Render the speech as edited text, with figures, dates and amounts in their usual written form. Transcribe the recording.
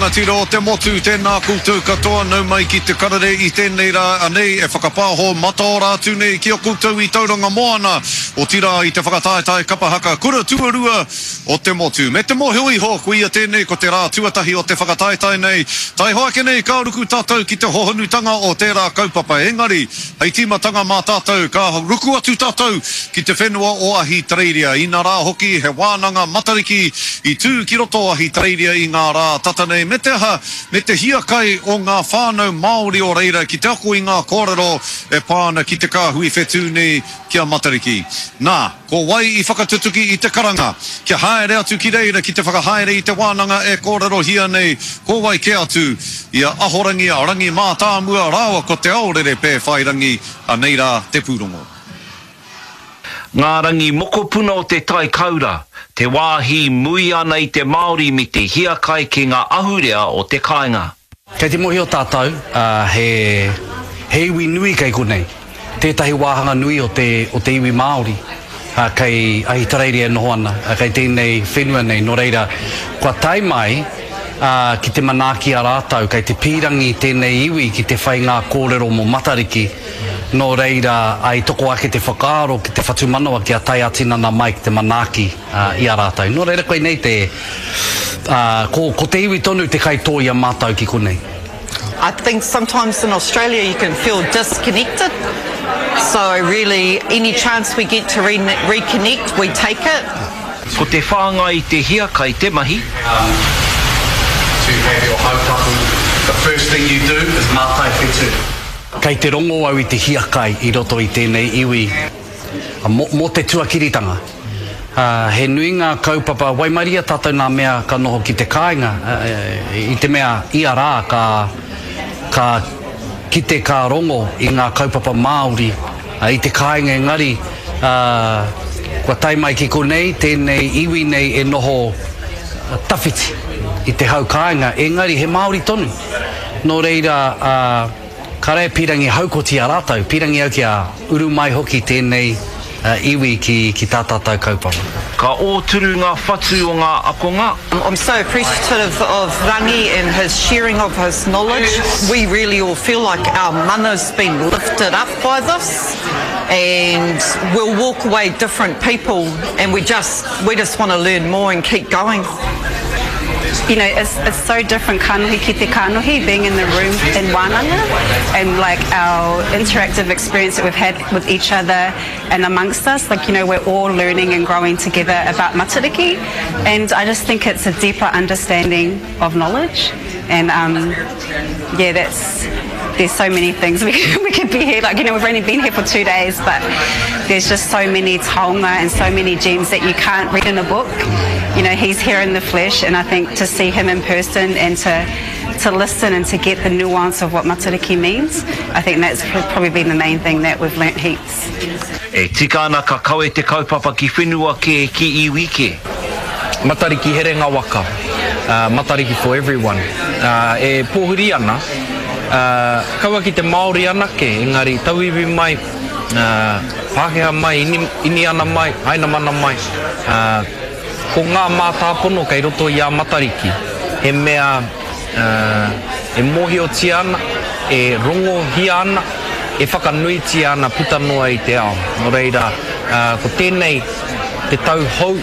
rangatira o te motu, tēnā koutou katoa, nau mai ki te karere i tēnei rā, anei e whakapāho mataora atu nei ki a koutou i Tauranga Moana, otirā i te whakataetae kapa haka kura tuarua o te motu. Me te mōhio iho, koia tēnei ko te rā tuatahi o te whakataetae nei, taihoa ake nei ka ruku tātou ki te hohonutanga o tērā kaupapa, engari, Hei tīmatanga mā tātou, ka ruku atu tātou ki te whenua o Ahitereiria. Inarā hoki, he wānanga Matariki i tū ki roto o Ahitereiria i ngā rā tata nei, me te aha, me te hiakai o ngā whānau Māori o reira ki te ako i ngā kōrero e pā ana ki te kāhui whetū nei, ki a Matariki. Nā, ko wai i whakatutuki i te karanga kia haere atu ki reira ki te whakahaere i te wānanga e kōrerohia nei, ko wai kē atu i a Ahorangi a Rangi Mātāmua rāua ko Te Aorere Pēwhairangi, anei rā te pūrongo. Ngā rangi mokopuna o te tai kaura, te wāhi mui ana i te Māori me te hiakai ki ngā ahurea o te kāinga. Kei te mohio tātou, he, he iwi nui kei konei. Tētahi wāhanga nui o te, o te iwi Māori, kei Ahitereiria e noho ana, kei tēnei whenua nei. Nō reira, kua tae mai, ki te manaaki a rātou, kei te pīrangi tēnei iwi ki te whai ngā kōrero mō Matariki. Nō reira, i toko ake te whakaaro ki te whatumanawa kia tae ā-tinana mai ki te manaaki. I a rātou. Nō reira koinei te, ā, ko, ko te iwi tonu te kaitō i a mātou ki konei. I think sometimes in Australia you can feel disconnected so really any chance we get to reconnect we take it. Ko te whāngai i te hiakai te mahi. To have your hautapu, the first thing you do is mātai whetū. Kei te rongo au i te hiakai i roto i tēnei iwi mō te tuakiritanga. He nui ngā kaupapa, waimaria tātou nā mea ka noho ki te kāinga, i te mea ia rā ka, ka kite ka rongo i ngā kaupapa Māori i te kāinga engari kua tae mai ki konei tēnei iwi nei e noho tawhiti i te hau kāinga engari he Māori tonu. Nō reira, Kāre e pīrangi haukoti a rātou, pīrangi au kia uru mai hoki tēnei iwi ki ki tā tātou kaupapa. Ka ōturu ngā whatu o ngā akonga. I'm so appreciative of Rangi and his sharing of his knowledge. We really all feel like our mana's been lifted up by this and we'll walk away different people and we just we just want to learn more and keep going. You know, it's, it's so different kanohi ki te kanohi, being in the room in wānanga and like our interactive experience that we've had with each other and amongst us, like, you know, we're all learning and growing together about Matariki and I just think it's a deeper understanding of knowledge and um, yeah, that's there's so many things we, we could be here. Like, you know, we've only been here for two days, but there's just so many taonga and so many gems that you can't read in a book. You know, he's here in the flesh, and I think to see him in person and to to listen and to get the nuance of what Matariki means, I think that's probably been the main thing that we've learnt heaps. E tika ana ka kawe te kaupapa ki whenua kē, ki iwi kē. Matariki herenga waka, Matariki for everyone, e pōhiri ana, kaua ki te Māori anake, engari tauiwi mai, Pākehā mai, Iniana mai, Hainamana mai, ko ngā mātāpono kei roto i a Matariki, he mea e mōhiotia ana, e rongohia ana, e whakanuitia ana puta noa i te ao. Nō reira, ko tēnei te tau hou.